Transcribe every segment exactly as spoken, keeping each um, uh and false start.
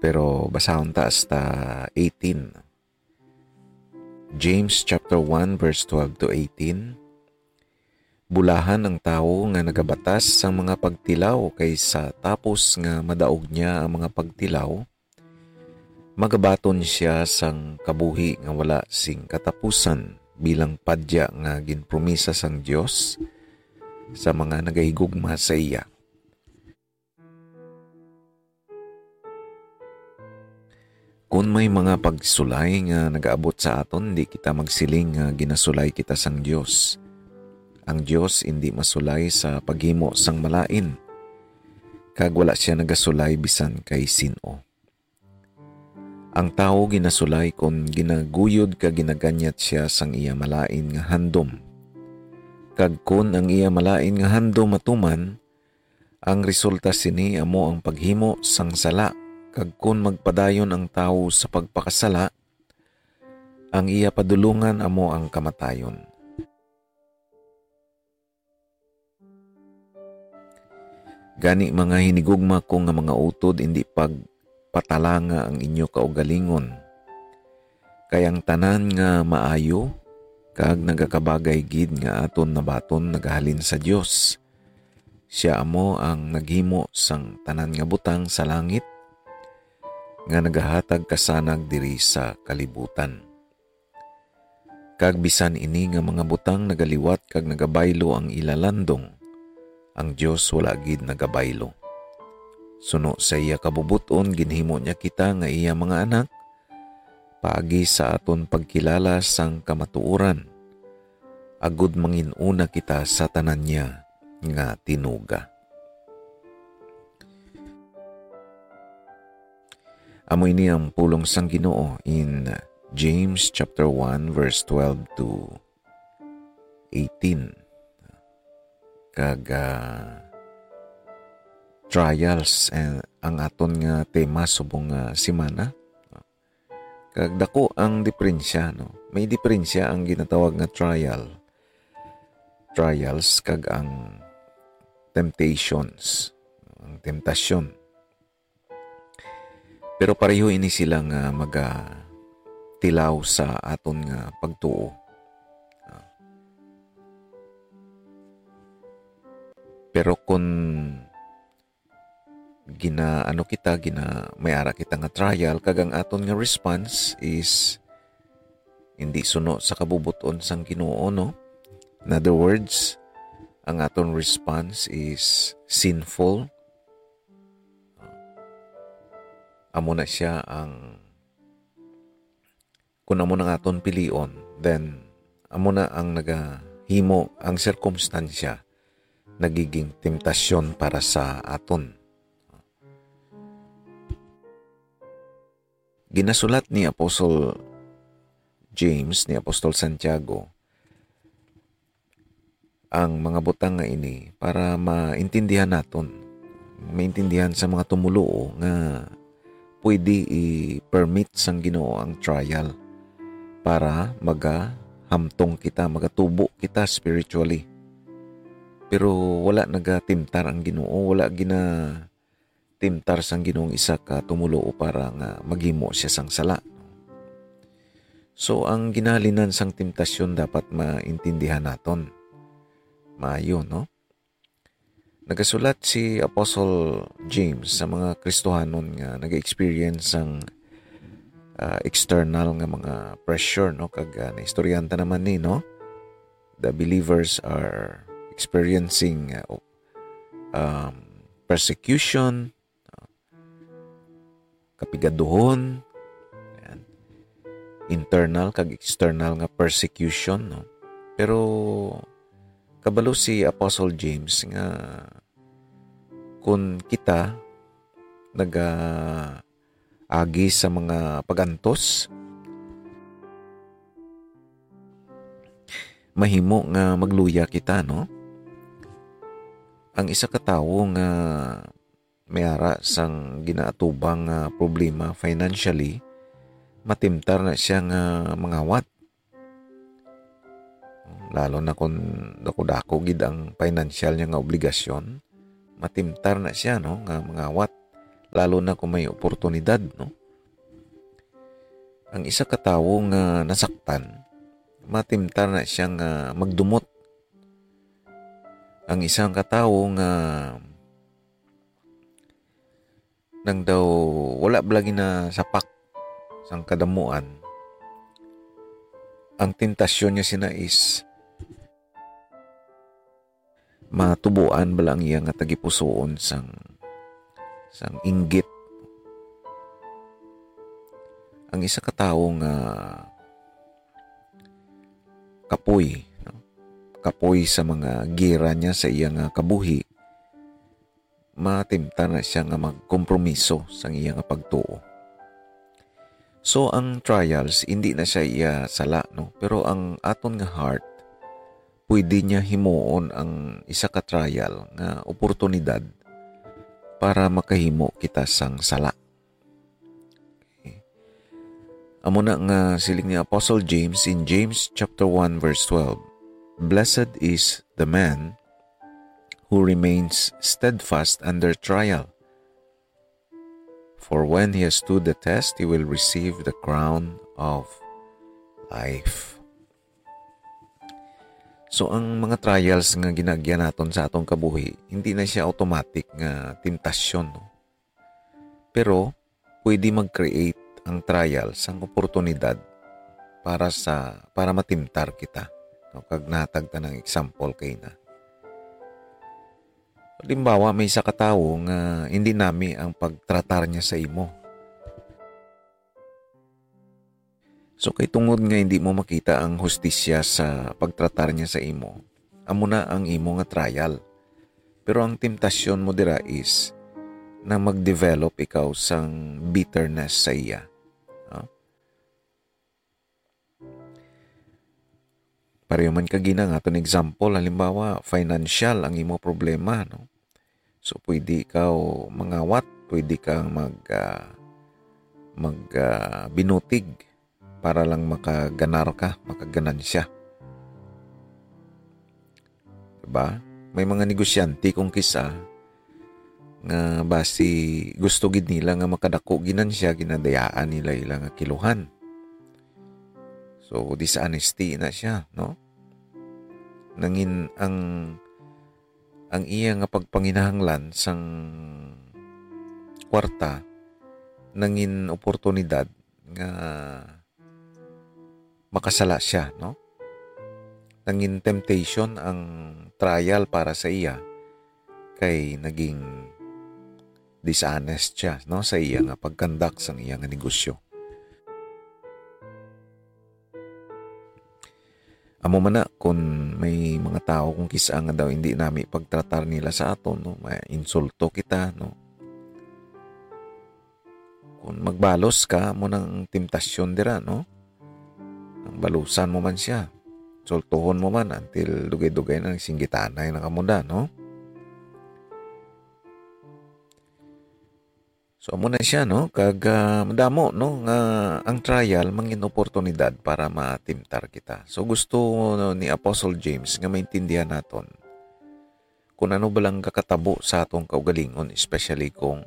Pero basahon ta hasta eighteen. James chapter one, verse twelve to eighteen. Bulahan ang tawo nga nagabatas sang mga pagtilaw, kay sa tapos nga madaog niya ang mga pagtilaw, magabaton sia sang kabuhi nga wala sing katapusan, bilang padya nga ginpromisa sang Dios sa mga nagahigugma sa iya. Kon may mga pagsulay nga nagaabot sa aton, di kita magsiling nga ginasulay kita sang Dios. Ang Dios indi masulay sa paghimo sang malain, kag wala sia nagasulay bisan kay sin-o. Ang tawo ginasulay kon ginaguyod kag ginaganyat sia sang iya malain nga handom. Kag kon ang iya malain nga handom matuman, ang resulta sini amo ang paghimo sang sala, kag kon magpadayon ang tawo sa pagpakasala, ang iya padulongan amo ang kamatayon. Gani, mga hinigugma ko nga mga utod, indi pagpatalanga ang inyo kaugalingon. Kay ang tanan nga maayo kag nagakabagay gid nga aton nabaton nagahalin sa Dios. Sia amo ang naghimo sang tanan nga butang sa langit nga nagahatag kasanag diri sa kalibutan. Kag bisan ini nga mga butang nagaliwat kag nagabaylo ang ila landong, ang Dios wala gid nagabaylo. Suno sa iya kabubot-on, ginhimo niya kita nga iya mga anak paagi sa aton pagkilala sang kamatuoran, agud mangin-una kita sa tanan niya nga tinuga. Amo ini ang pulong sang Ginoo in James chapter one, verse twelve to eighteen. Kag, ah, trials, eh, ang aton nga tema subong nga semana. Kag dako ang diperensya, no? May diperensya ang ginatawag nga trial. Trials kag ang temptations, ang temptasyon. Pero pareho ini sila nga magatilaw sa aton nga pagtuo. Ah. Pero kung gina-, ano kita, gina-, may ara kita nga trial, kag ang aton nga response is hindi suno sa kabubot-on sang Ginoo, no? In other words, ang aton response is sinful. Amo na siya ang, kung amo nang aton pilion, then amo na ang nagahimo, ang sirkumstansya nagiging temptasyon para sa aton. Ginasulat ni Apostol James, ni Apostol Santiago, ang mga butang nga ini para maintindihan naton, maintindihan sa mga tumoluo nga pwede i-permit sang Ginoo ang trial para magahamtong kita, magatubo kita spiritually. Pero wala nagatimtar ang Ginoo, wala gina-, timtar sang Ginoong isa ka tumoluo para nga maghimo siya sang sala. So, ang ginahalinan sang temptasyon dapat maintindihan naton. Maayo, no? Nagasulat si Apostle James sa mga Kristohanon nga nag-experience sang, ah, external nga mga pressure, no? Kag, ah, naistoryahan ta naman ni, no? The believers are experiencing, ah, um, persecution, kapigaduhon, yan, internal kag external nga persecution, no? Pero kabalo si Apostle James nga kun kita nagaagi sa mga pag-antos, mahimo nga magluya kita, no? Ang isa ka tawo nga may ara sang ginaatubang nga problema financially, matimtar na siya nga mangawat. Lalo na kung dako-dako gid ang financial niya nga obligasyon, matimtar na siya, no, nga mangawat. lalo na kung may oportunidad, no? Ang isa ka tawo nga nasaktan, matimtar na siya nga magdumot. Ang isa ka tawo nga nang daw wala bala ginasapak sang kadamuan, ang tentasyon niya sina is matubuan bala ang iya nga tagipusoon sang, sang inggit. Ang isa ka tawo nga kapoy, no? Kapoy sa mga gira niya sa iya nga kabuhi, matimta na siya nga magkompromiso sang iya nga pagtuo. So, ang trials, hindi na siya iya sala, no? Pero ang aton nga heart, pwede niya himuon ang isa ka trial nga oportunidad para makahimo kita sang sala. Okay. Amo na nga siling ni Apostle James in James chapter one verse twelve, "Blessed is the man who remains steadfast under trial. For when he has stood the test, he will receive the crown of life." So, ang mga trials nga ginaagyan naton sa atong kabuhi, hindi na siya automatic nga temptasyon, no? Pero pwede mag-create ang trial sang oportunidad para sa, para matimtar kita, no? Kag nahatag ta ng example kay na. Halimbawa, may isa ka tawo nga hindi nami ang pagtratar niya sa imo. So, kay tungod nga hindi mo makita ang hustisya sa pagtratar niya sa imo, amo na ang imo nga trial. Pero ang temptasyon mo dira is na mag-develop ikaw sang bitterness sa iya. No? Pareho man kagina nga aton example, halimbawa, financial ang imo problema, no? So, pwede ikaw mangawat, pwede kang mag, ah, mag, ah, binutig para lang makaganar ka, makaganansya. Diba? May mga negosyante kung kisa nga basi gusto gid nila nga makadako ginansya, ginadayaan nila ila nga kiluhan. So, dishonesty na siya, no? Nangin ang, ang iya nga pagpanginahanglan sang kwarta nangin oportunidad nga makasala siya, no? Nangin temptation ang trial para sa iya, kay naging dishonest siya, no, sa iya nga pag-conduct sang iya nga negosyo. Amo man na, kung may mga tawo kung kisa nga daw hindi nami pagtratar nila sa aton, no, may insulto kita, no? Kung magbalos ka, amo nang temptasyon dira, no? Ang balusan mo man siya, sultuhon mo man, until dugay-dugay na nagsinggitanay na kamo da, no? So, amo na siya, no? Kag, ah, madamo, no, nga ang trial mangin oportunidad para matimtar kita. So, gusto ni Apostle James nga maintindihan naton kung ano ba lang kakatabo sa atong kaugalingon, especially kung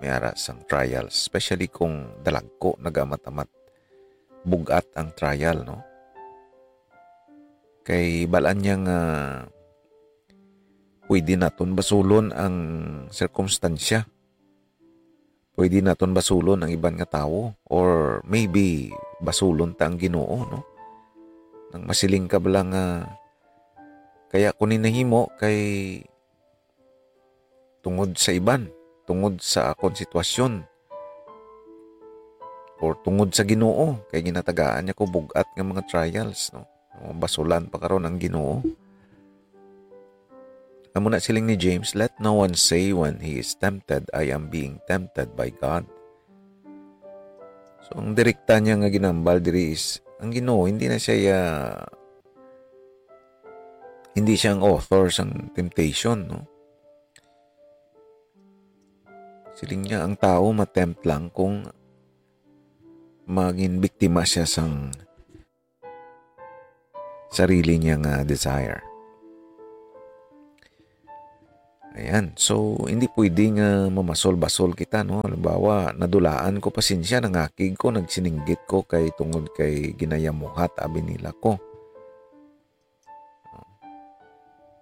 may ara sang trials, especially kung dalagko, nagamat-amat bug-at ang trial, no? Kay balaan niya nga pwede naton basulon ang sirkumstansya. Pwede naton basulon ang iban nga tawo, or maybe basulon ta ang Ginoo, no? Nang masiling ka bala nga, "Kaya ko ni nahimo kay tungod sa iban, tungod sa akon sitwasyon, or tungod sa Ginoo, kay ginatagaan niya ko bug-at nga mga trials," no? Basulan pa karon ang Ginoo. Amo na siling ni James, "Let no one say when he is tempted, 'I am being tempted by God.'" So, ang direkta niya nga ginambal diri is, ang Ginoo, hindi na siya, ah, hindi siya ang author sang temptation, no? Siling niya, ang tao matempt lang kung maging biktima siya sang sarili niya nga desire. Ayan. So, hindi pwede nga mamasol-basol kita, no? Halimbawa, nadulaan ko, pasensya, nangakig ko, nagsininggit ko kay tungod kay ginayamuhat, abi nila ko.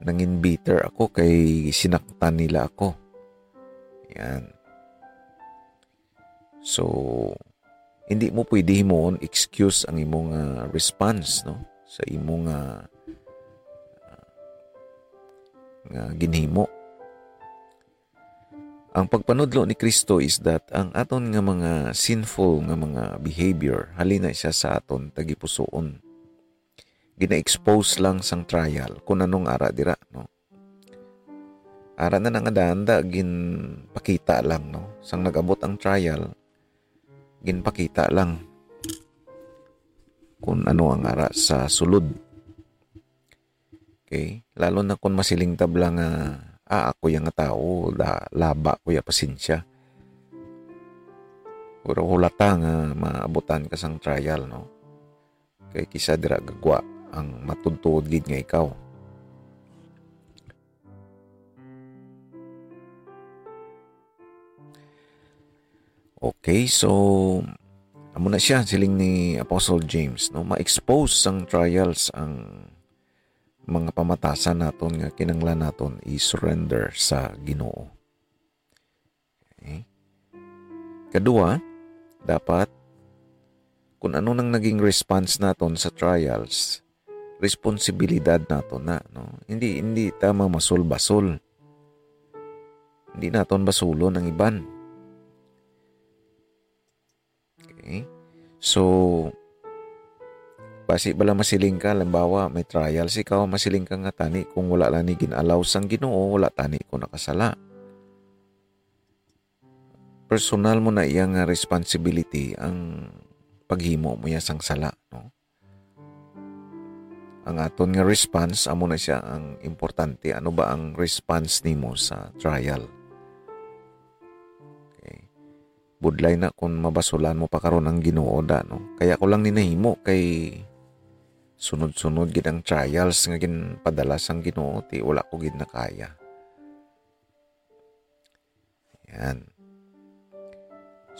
Nangin bitter ako kay sinaktan nila ako. Ayan. So, hindi mo pwede himuon excuse ang imong, ah, response, no? Sa imong, ah, nga ginhimo. Ang pagpanudlo ni Kristo is that ang aton nga mga sinful nga mga behavior, halina siya sa aton tagipusoon. Gina-expose lang sang trial kung anong ara dira, no? Ara na nga anda-anda, ginpakita lang, no? Sang nag-abot ang trial, ginpakita lang kung ano ang ara sa sulod. Okay? Lalo na kung masiling tab lang nga, "Ah, ako yang nga tawo, da, laba ko ya, pasensya." Pero hulata nga maabutan ka sang trial, no? Kay kisa dira gagwa ang matuod-tuod gid nga ikaw. Okay, so amo na siya, siling ni Apostle James, no? Ma-expose sang trials ang mga pamatasan naton nga kinahanglan naton i-surrender sa Ginoo. Okay? Kadua, dapat kung ano nang naging response naton sa trials, responsibilidad naton na, no? Hindi, hindi ta mamasol-basol. Hindi naton basulon ang iban. Okay? So, basi bala masiling ka, halimbawa, may trials ikaw, masiling ka nga, "Tani kung wala lang ni gin-allow sang Ginoo, wala tani ko nakasala." Personal mo na iya nga responsibility ang paghimo mo iya sang sala, no? Ang aton nga response, amo na siya ang importante. Ano ba ang response nimo sa trial? Okay. Budlay na kung mabasulan mo pa karon ang Ginoo, da, no? Kaya ko lang ni nahimo kay sunod-sunod gid ang trials nga ginpadala sang Ginoo, ti wala ko gid nakaya. Yan.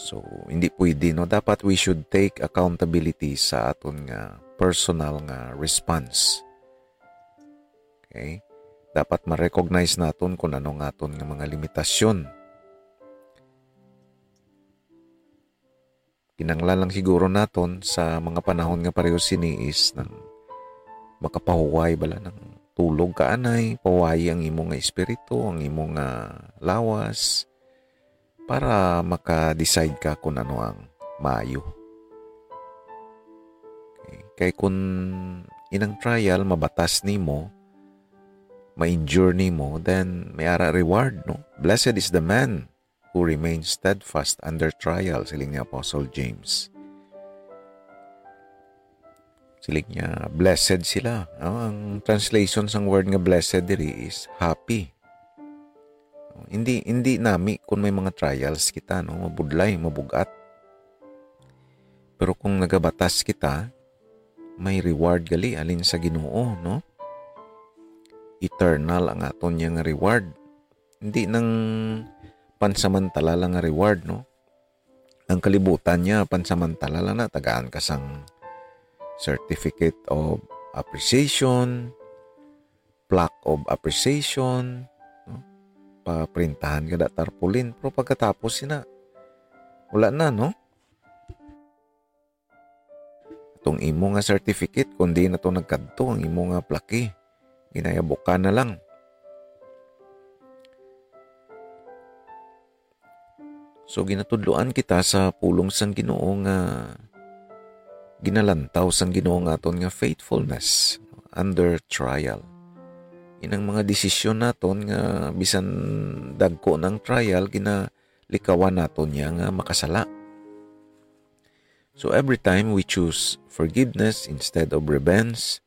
So, hindi pwede, no? Dapat we should take accountability sa aton nga personal nga response. Okay? Dapat ma-recognize naton kung ano nga aton nga mga limitasyon. Kinahanglan lang siguro naton sa mga panahon nga pareho sini is nang makapahuway bala, nang tulog ka anay, pahuwayi ang imo nga espiritu, ang imo nga lawas, para maka-decide ka kung ano ang maayo. Okay. Kay kung inang trial mabatas nimo, ma-endure nimo, then may ara reward, no? "Blessed is the man who remains steadfast under trial," siling ni Apostle James. Siling niya, "Blessed sila." Ah, ang translation sang word nga blessed diri is happy. Hindi, hindi nami kung may mga trials kita, no? Mabudlay, mabugat. Pero kung nagabatas kita, may reward gali halin sa Ginoo, no? Eternal ang aton niya nga reward. Hindi nang pansamantala lang nga reward, no? Ang kalibutan niya, pansamantala lang na, tagaan ka sang certificate of appreciation, plaque of appreciation, no? Paprintahan ka da tarpaulin, pero pagkatapos sina, wala na, no? Itong imo nga certificate, kung di na to nagkadto ang imo nga plaque, ginayabukan na lang. So, ginatudloan kita sa pulong sang Ginoo nga ginalantaw sang Ginoo nga aton nga faithfulness under trial. Inang mga desisyon naton nga bisan dagko ng trial, ginalikawan naton niya nga makasala. So, every time we choose forgiveness instead of revenge,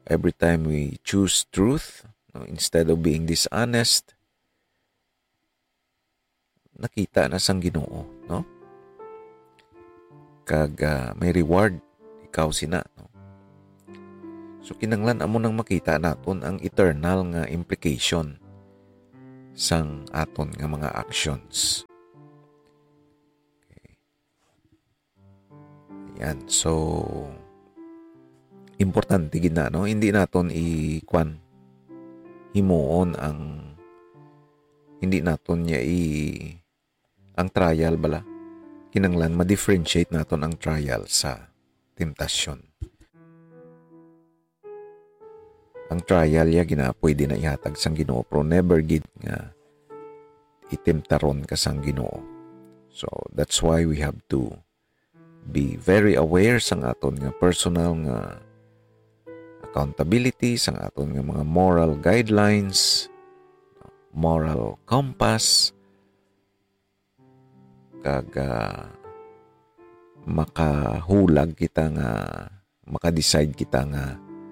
every time we choose truth, no, instead of being dishonest, nakita na sang Ginoo, no? Kag, ah, may reward ikaw sina, no? So, kinanglan amo nang makita naton ang eternal nga implication sang aton nga mga actions. Okay. Yan. So, importante gid na, no? Hindi naton i-, kwan, himuon ang, hindi naton niya i-, ang trial bala. Kinanglan ma-differentiate naton ang trial sa temptasyon. Ang trial ya gina-, pwede na ihatag sang Ginoo, pero never gid nga itimtaron ka sang Ginoo. So, that's why we have to be very aware sang aton nga personal nga accountability, sang aton nga mga moral guidelines, moral compass, kag, ah, makahulag kita nga, maka-decide kita nga